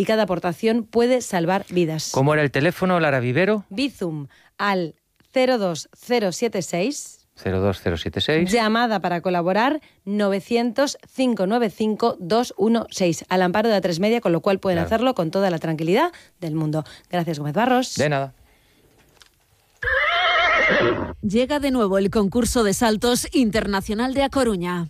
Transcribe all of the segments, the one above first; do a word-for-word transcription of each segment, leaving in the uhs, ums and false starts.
y cada aportación puede salvar vidas. ¿Cómo era el teléfono, Lara Vivero? Bizum al cero dos cero siete seis. cero dos cero siete seis. Llamada para colaborar novecientos, cinco nueve cinco, dos uno seis. Al amparo de A tres Media, con lo cual pueden claro. hacerlo con toda la tranquilidad del mundo. Gracias, Gómez Barros. De nada. Llega de nuevo el concurso de saltos internacional de A Coruña.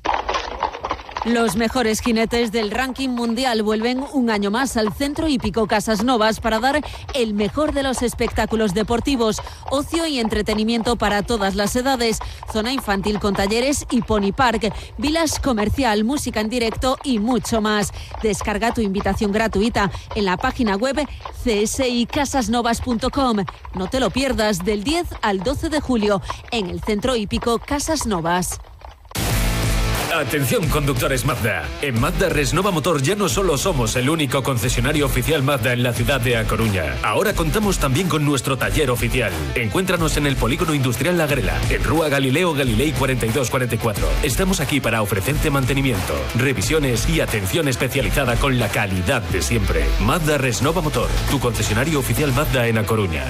Los mejores jinetes del ranking mundial vuelven un año más al Centro Hípico Casas Novas para dar el mejor de los espectáculos deportivos, ocio y entretenimiento para todas las edades, zona infantil con talleres y pony park, village comercial, música en directo y mucho más. Descarga tu invitación gratuita en la página web c s i casas novas punto com. No te lo pierdas, del diez al doce de julio en el Centro Hípico Casas Novas. Atención, conductores Mazda. En Mazda Resnova Motor ya no solo somos el único concesionario oficial Mazda en la ciudad de A Coruña. Ahora contamos también con nuestro taller oficial. Encuéntranos en el Polígono Industrial La Grela, en Rúa Galileo Galilei cuarenta y dos cuarenta y cuatro. Estamos aquí para ofrecerte mantenimiento, revisiones y atención especializada con la calidad de siempre. Mazda Resnova Motor, tu concesionario oficial Mazda en A Coruña.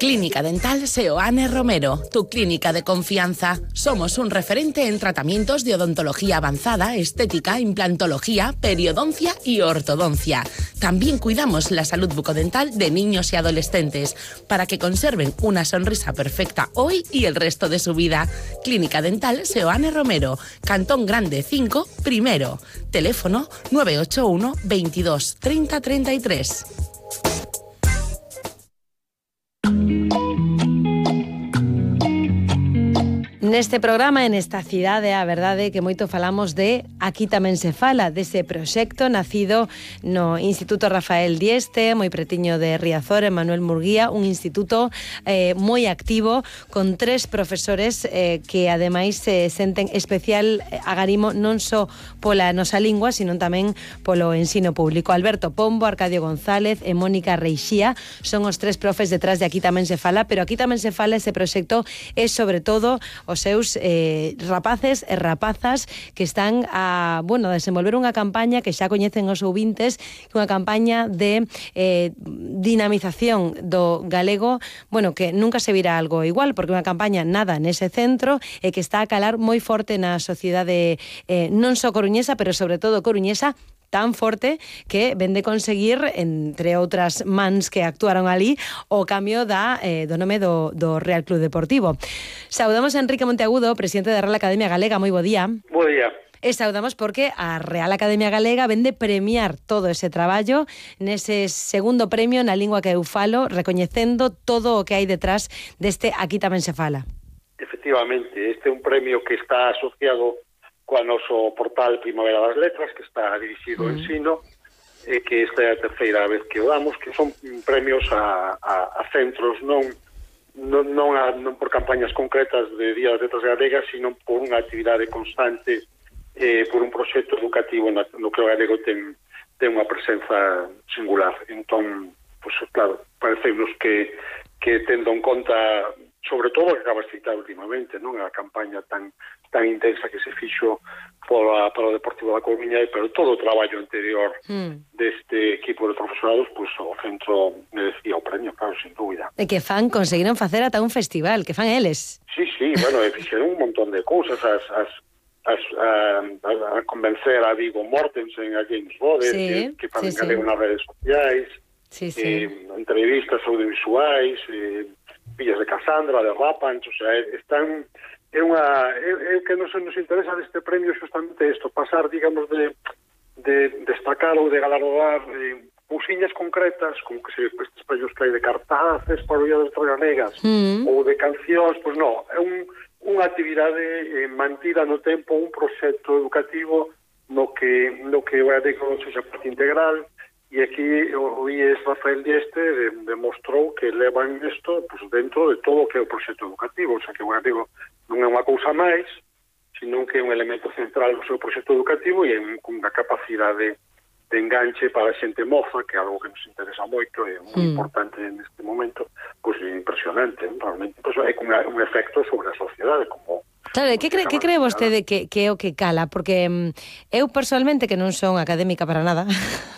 Clínica Dental Seoane Romero, tu clínica de confianza. Somos un referente en tratamientos de odontología avanzada, estética, implantología, periodoncia y ortodoncia. También cuidamos la salud bucodental de niños y adolescentes para que conserven una sonrisa perfecta hoy y el resto de su vida. Clínica Dental Seoane Romero, Cantón Grande cinco, primero. Teléfono nueve ocho uno, veintidós, treinta, treinta y tres. Neste programa, en esta cidade, a verdade que moito falamos de Aquí tamén se fala, dese proxecto nacido no Instituto Rafael Dieste, moi pretiño de Riazor, en Manuel Murguía, un instituto eh, moi activo, con tres profesores eh, que ademais se eh, senten especial agarimo non só pola nosa lingua, sino tamén polo ensino público. Alberto Pombo, Arcadio González e Mónica Reixía son os tres profes detrás de Aquí tamén se fala, pero Aquí tamén se fala, ese proxecto é sobre todo os seus eh, rapaces e rapazas que están a, bueno, a desenvolver unha campaña que xa coñecen os ouvintes, unha campaña de eh, dinamización do galego, bueno, que nunca se virá algo igual, porque unha campaña nada nese centro e que está a calar moi forte na sociedade eh, non só coruñesa, pero sobre todo coruñesa, tan forte que ven de conseguir, entre outras mans que actuaron ali, o cambio da, eh, do nome do, do Real Club Deportivo. Saudamos a Enrique Monteagudo, presidente da Real Academia Galega. Moi bo día. Bo día. E saudamos porque a Real Academia Galega ven de premiar todo ese traballo nese segundo premio na lingua que eu falo, recoñecendo todo o que hai detrás deste Aquí tamén se fala. Efectivamente, este é un premio que está asociado coa noso portal Primavera das Letras, que está dirixido ao ensino, e que esta é a terceira vez que o damos, que son premios a, a, a centros, non non, non, a, non por campañas concretas de Día das Letras Galegas, sino por unha actividade constante, eh, por un proxecto educativo no, no que o galego ten, ten unha presenza singular. Entón, pues, claro, parecemos que, que tendo en conta, sobre todo que acabas de citar últimamente, non a campaña tan tan intensa que se fixo pola, para o Deportivo da Coruña, pero todo o traballo anterior mm. deste equipo de profesorados, pues, o centro merecía o premio, claro, sin dúbida. E que fan, conseguiron facer ata un festival, que fan eles. Sí, sí, bueno, fixeron un montón de cousas, as, as, as, a, a convencer a Vigo Mortensen, a James Bode, sí, que, que fan sí, galego sí. nas redes sociais, sí, sí. Eh, entrevistas audiovisuais, eh, Villas de Casandra, de Rapanch, o sea, están... É unha é, é que nos, nos interesa deste premio justamente isto, pasar, digamos, de, de destacar ou de galardar eh, cousiñas concretas, como que se estes premios que hai de cartaces para o Día das Letras Galegas, mm. ou de cancións, pois non, é un, unha actividade eh, mantida no tempo, un proxecto educativo no que, no que o galego sexa parte integral, e aquí o I E S Rafael Dieste de, demostrou que levan isto pues, dentro de todo o que é o proxecto educativo, o sea que o galego non é unha cousa máis, sino que é un elemento central do seu proxecto educativo e é unha capacidade de enganche para a xente moza, que é algo que nos interesa moito e é moi mm. importante neste momento, pois pues, impresionante, realmente, pues, é un, un efecto sobre a sociedade, como... Claro, que cree, que cree vostede que, que é o que cala? Porque um, eu personalmente, que non son académica para nada,